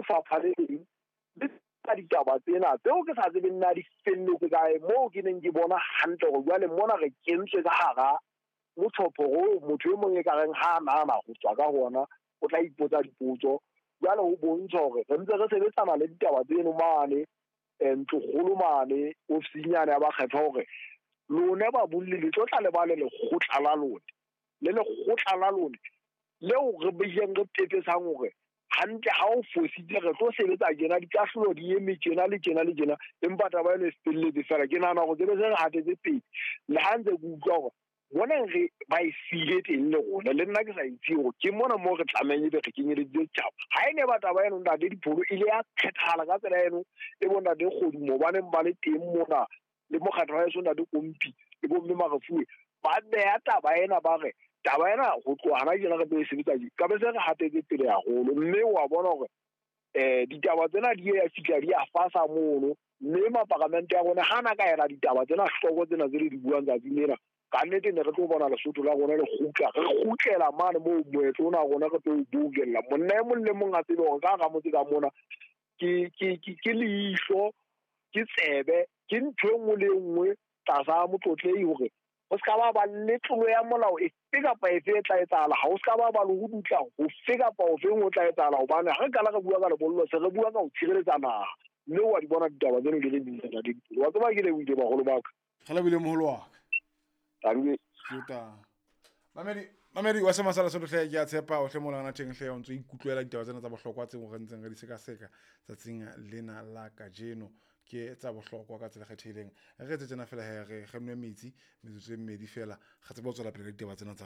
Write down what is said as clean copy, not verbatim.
lefapha le leng le ka ditaba tsena tseo ke sa tsebeng na di felletse kae, moo ke neng ke bona hantle hore jwale mona re kentswe ka hara motjhopho oo motho e mong e ka reng ha a nahana ho tswa ka hona o tla ipotsa dipotso. Jwale ho bontsha hore re ntse re sebetsana le ditaba tseno mane ntlokgolo mane ofising yane ya bakgethwa, hore lona babolli le tlo tla le ba le lekgotla la lona, le lekgotla la lona leo re beileng re pepesang hore hantle ha o fositse re tlo sebetsa tjena, dikahlolo di eme tjena le tjena le tjena, empa taba eno e felletse fela. Ke nahana hore ke be se re hatetse pele, le ha ntse ke utlwa hore bona re ba e siile teng le rona, le nna ke sa itse hore ke mona moo re tlamehang ebe re kenyeleditse setjhaba. Ha e ne ba taba eno ntate Dipholo e ile ya phethahala ka tsela eno e bo ntate Kgodumo ba neng ba le teng mona le mokgatlo wa heso ntate Kompi le bo mme Marefuwe ba beha taba ena, ba re taba ena ho tloha hana tjena re tlo e sebetsa tje, ka be se re hatetse pele haholo. Mme wa bona hore ditaba tsena di ya fihla di a fasa mono, mme maparamente ya rona ha na ka ela ditaba tsena hloko tsena tse le di buang tsatsing lena, ka nnete ne re tlo bona Lesotho la rona le kgutla, re kgutlela mane moo moetlo ona wa rona re tlo o boulella. Monna e mong le mong a tsebe hore ka hara motse ka mona ke leihlo, ke tsebe, ke ntho e nngwe le e nngwe tlasa motlotlehi, hore ho ska ba ba le tlolo ya molao efe kapa efe e tla etsahala, ha ho ska ba ba le ho dutla hofe kapa hofeng ho tla etsahala, hobane ha re qala re bua ka lebollo se re bua ka ho tshireletsa naha. Mme wa di bona ditaba tseno di le dintsi ntate Dipholo. Wa tseba ke lebohile baholo ba ka. Re lebohile moholo wa ka. Tanki. Jota. Mamedi, mamedi wa sema sa Lesotho hle, ke a tshepa o hle molana teng hle, o ntso ikutlwela ditaba tsena tsa bohlokwa tseo re ntseng re di sekaseka tsatsing lena la kajeno, ke tsa bohlokwa ka tsela e kgethehileng. Re etse tjena fela he, re nwe metsi metsotso e mmedi fela, re tsebe ho tswela pele ka ditaba tsena tsa.